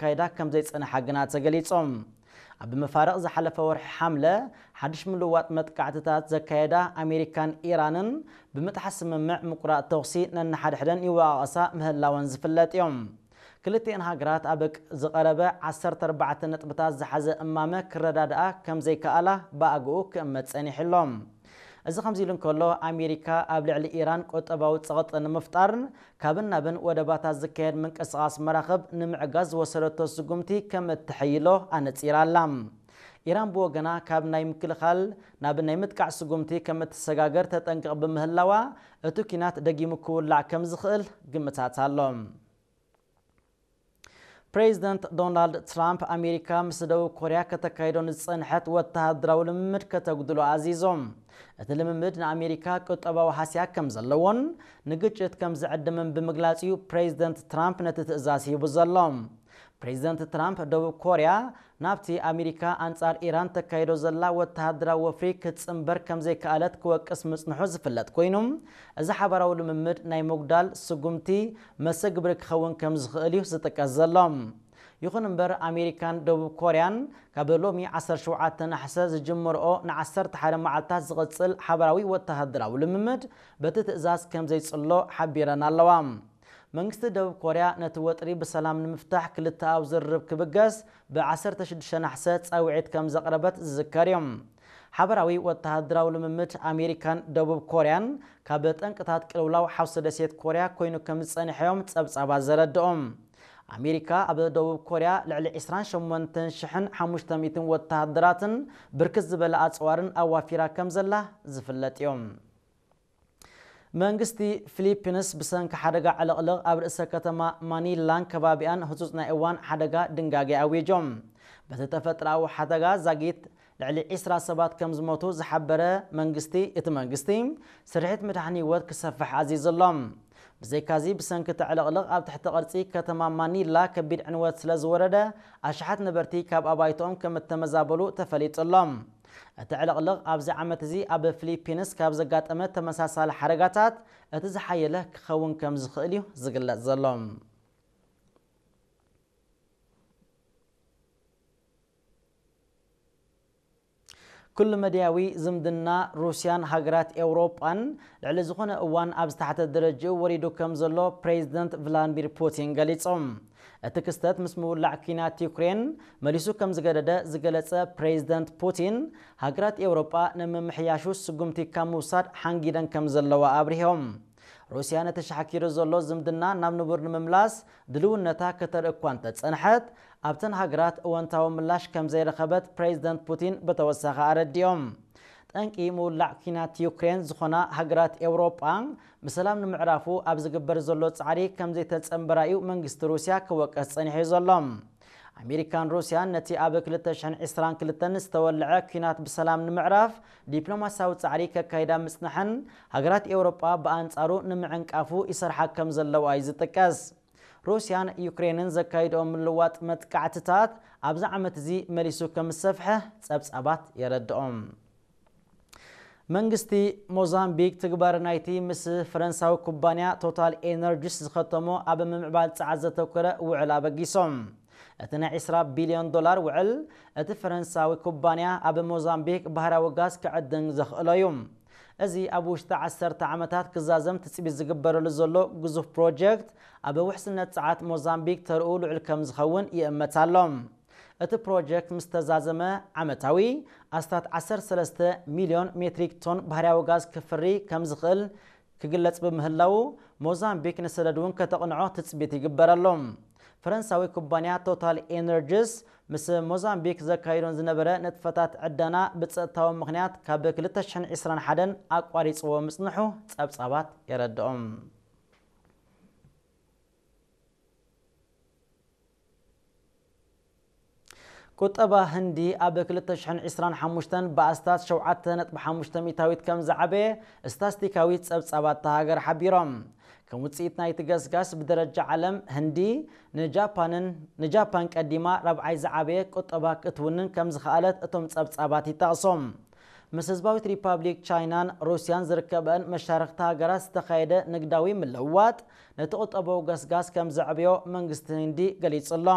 ክካየዳ ከም ዘይጸንሓ ግና ተገሊጹ። ኣብ መፋርቕ ዝሓለፈ ወርሒ ሓምለ ሓድሽ ምልዋጥ መጥቃዕትታት ዘካየዳ ኣሜሪካን ኢራንን ብምጥሓስ ስምምዕ ምቁራጽ ተኹሲ ነንሓድሕደን ይወቓቐሳ ምህላወን ዝፍለጥ እዮም። ክልቲኤን ሃገራት ኣብ ዝቐረበ ዓሰርተ ኣርባዕተ ነጥብታት ዝሓዘ እማመ ክረዳድኣ ከም ዘይከኣላ ብኣግኡ ክእመት ጸኒሑ ኣሎ። እዚ ከምዚ ኢሉ እንከሎ፣ ኣሜሪካ ኣብ ልዕሊ ኢራን ቁጠባዊ ጸቕጢ ንምፍጣር ካብን ናብን ወደባታት ዝካየድ ምንቅስቓስ መራኽብ ንምዕጋዝ ዝወሰደቶ ስጉምቲ ከም እትሕይሎ ኣነጺራ ኣላ። ኢራን ብወገና ካብ ናይ ምክልኻል ናብ ናይ ምጥቃዕ ስጉምቲ ከም እትሰጋገር ተጠንቅቕ ብምህላዋ፣ እቲ ኲናት ደጊሙ ክውላዕ ከም ዝኽእል ግምታት ኣሎ። ፕሬዚደንት ዶናልድ ትራምፕ ኣሜሪካ ምስ ደቡብ ኮርያ ከተካይዶ ንዝጸንሐት ወተሃደራዊ ልምምድ ከተጉድሎ ኣዚዞም። እቲ ልምምድ ንኣሜሪካ ቁጠባዊ ሃስያ ከም ዘለዎን ንግጭት ከም ዝዕድምን ብምግላጽ እዩ ፕሬዚደንት ትራምፕ ነቲ ትእዛዝ ሂቡ ዘሎ። ፕሬዚደንት ትራምፕ ደቡብ ኮርያ ናብቲ ኣሜሪካ ኣንጻር ኢራን ተካይዶ ዘላ ወተሃደራዊ ወፍሪ ክትጽንበር ከም ዘይከኣለት ክወቅስ ምጽንሑ ዝፍለጥ ኮይኑ፣ እዚ ሓባራዊ ልምምድ ናይ ምጉዳል ስጉምቲ መሰግብሪ ክኸውን ከም ዝኽእል እዩ ዝጥቀስ ዘሎ። ይኹን እምበር፣ ኣሜሪካን ደቡብ ኮርያን ካብ ሎሚ ዓሰርተ ሸውዓተ ናሕሰ ዝጅምርኦ ንዓሰርተ ሓደ መዓልታት ዝቕጽል ሓባራዊ ወተሃደራዊ ልምምድ በቲ ትእዛዝ ከም ዘይጽሎ ሓቢረን ኣለዋ። መንግስቲ ደቡብ ኮርያ ነቲ ወጥሪ ብሰላም ንምፍታሕ ክልተኣዊ ዝርርብ ክብገስ ብ ዓሰርተ ሽዱሽተ ናሕሰ ጻውዒት ከም ዘቕረበት ዝዝከር እዩ። ሓባራዊ ወተሃደራዊ ልምምድ ኣሜሪካን ደቡብ ኮርያን ካብ ጠንቅታት ቅልውላው ሓውሲ ደሴት ኮርያ ኮይኑ ከም ዝጸንሐ እዮም ጸብጻባት ዘረድኦም። ኣሜሪካ ኣብ ደቡብ ኮርያ ልዕሊ ዕስራን ሸሞንተን ሽሕን ሓሙሽተ ሚእትን ወተሃደራትን ብርክት ዝበለ ኣጽዋርን ኣዋፊራ ከም ዘላ ዝፍለጥ እዮም። መንግስቲ ፊሊፒንስ ብሰንኪ ሓደጋ ዕልቕልቕ ኣብ ርእሰ ከተማ ማኒላን ከባቢኣን ህጹጽ ናይ እዋን ሓደጋ ድንጋጌ ኣዊጆም። በቲ ተፈጥሮኣዊ ሓደጋ ዛጊት ልዕሊ ዕስራ ሰባት ከም ዝሞቱ ዝሓበረ መንግስቲ፣ እቲ መንግስቲ ስርሒት ምድሓን ህይወት ክሰፍሕ ኣዚዙ ኣሎ። ብዘይካዚ፣ ብሰንኪ እቲ ዕልቕልቕ ኣብ ትሕቲ ቅርጺ ከተማ ማኒላ ከቢድ ዕንወት ስለ ዝወረደ፣ ኣሽሓት ነበርቲ ካብ ኣባይቶኦም ከም እተመዛበሉ ተፈሊጡ ኣሎ። እቲ ዕልቕልቕ ኣብዚ ዓመት እዚ ኣብ ፊሊፒንስ ካብ ዘጋጠመ ተመሳሳሊ ሓደጋታት እቲ ዝሓየለ ክኸውን ከም ዝኽእል እዩ ዝግለጽ ዘሎ። ኩሉ መድያዊ ዝምድና ሩስያን ሃገራት ኤውሮጳን ልዕሊ ዝኾነ እዋን ኣብ ዝተሓተ ደረጃኡ ወሪዱ ከም ዘሎ ፕሬዚደንት ቭላድሚር ፑቲን ገሊጾም። እቲ ክስተት ምስ ምውላዕ ኲናት ዩክሬን መሊሱ ከም ዝገደደ ዝገለጸ ፕሬዚደንት ፑቲን፣ ሃገራት ኤውሮጳ ንምምሕያሹ ስጉምቲ ካብ ምውሳድ ሓንጊደን ከም ዘለዋ ኣብሪሆም። ሩስያ ነቲ ሻሕኪሩ ዘሎ ዝምድና ናብ ንቡር ንምምላስ ድልውነታ ከተርኢ እኳ እንተጸንሐት፣ ኣብተን ሃገራት እወንታዊ ምላሽ ከም ዘይረኸበት ፕሬዚደንት ፑቲን ብተወሳኺ ኣረዲኦም። ጠንቂ ምውላዕ ኲናት ዩክሬን ዝኾና ሃገራት ኤውሮጳ፣ ብሰላም ንምዕራፉ ኣብ ዝግበር ዘሎ ጻዕሪ ከም ዘይተጸንበራ እዩ መንግስቲ ሩስያ ክወቀስ ጸኒሑ ዘሎ። ኣሜሪካን ሩስያን ነቲ ኣብ ክልተ ሽሕን ዕስራን ክልተን ዝተወልዐ ኲናት ብሰላም ንምዕራፍ ዲፕሎማስያዊ ጻዕሪ ከካይዳ ምጽንሐን፣ ሃገራት ኤውሮጳ ብኣንጻሩ ንምዕንቃፉ ይሰርሓ ከም ዘለዋ እዩ ዝጥቀስ። ሩስያን ዩክሬንን ዘካይድኦ ምልዋጥ መጥቃዕትታት ኣብዚ ዓመት እዚ መሊሱ ከም ዝሰፍሐ ጸብጻባት የረድኦም። መንግስቲ ሞዛምቢክ ትግባረ ናይቲ ምስ ፈረንሳዊ ኩባንያ ቶታል ኤነርጂስ ዝኸተሞ ኣብ ምምዕባል ጸዓት ዘተኮረ ውዕል ኣበጊሶም። እቲ ናይ ዕስራ ቢልዮን ዶላር ውዕል፣ እቲ ፈረንሳዊ ኩባንያ ኣብ ሞዛምቢክ ባህራዊ ጋዝ ክዕድን ዘኽእሎ እዩ። እዚ ኣብ ውሽጢ ዓሰርተ ዓመታት ክዛዘም ትጽቢት ዝግበረሉ ዘሎ ግዙፍ ፕሮጀክት፣ ኣብ ውሕስነት ጸዓት ሞዛምቢክ ተርኡ ልዑል ከም ዝኸውን ይእመት ኣሎ። እቲ ፕሮጀክት ምስ ተዛዘመ፣ ዓመታዊ ኣስታት ዓሰርተ ሰለስተ ሚልዮን ሜትሪክ ቶን ባህርያዊ ጋዝ ክፍሪ ከም ዝኽእል ክግለጽ ብምህላዉ፣ ሞዛምቢክ ንሰደድ እውን ከተቕንዖ ትጽቢት ይግበረሉ። ፈረንሳዊ ኩባንያ ቶታል ኤነርጂስ ምስ ሞዛምቢክ ዘካይዶን ዝነበረ ንጥፈታት ዕደና ብጸጥታዊ ምኽንያት ካብ ክልተ ሽሕን ዕስራን ሓደን ኣቋሪጽዎ ምጽንሑ ጸብጻባት የረድኦም። ቁጠባ ህንዲ ኣብ ክልተ ሽሕን ዕስራን ሓሙሽተን ብኣስታት ሸውዓተ ነጥቢ ሓሙሽተ ሚእታዊት ከም ዝዓበየ ስታስቲካዊ ጸብጻባት እታ ሃገር ሓቢሮም። ከም ውጽኢት ናይቲ ገስጋስ ብደረጃ ዓለም ህንዲ ንጃፓንን፣ ንጃፓን ቀዲማ ራብዓይ ዝዓበየ ቁጠባ ክትውንን ከም ዝኸኣለት እቶም ጸብጻባት ይጠቕሱ። ምስ ህዝባዊት ሪፓብሊክ ቻይናን ሩስያን ዝርከበን መሻርኽቲ ሃገራት ዝተኻየደ ንግዳዊ ምልውዋጥ ነቲ ቁጠባዊ ገስጋስ ከም ዘዕበዮ መንግስቲ ህንዲ ገሊጹ ኣሎ።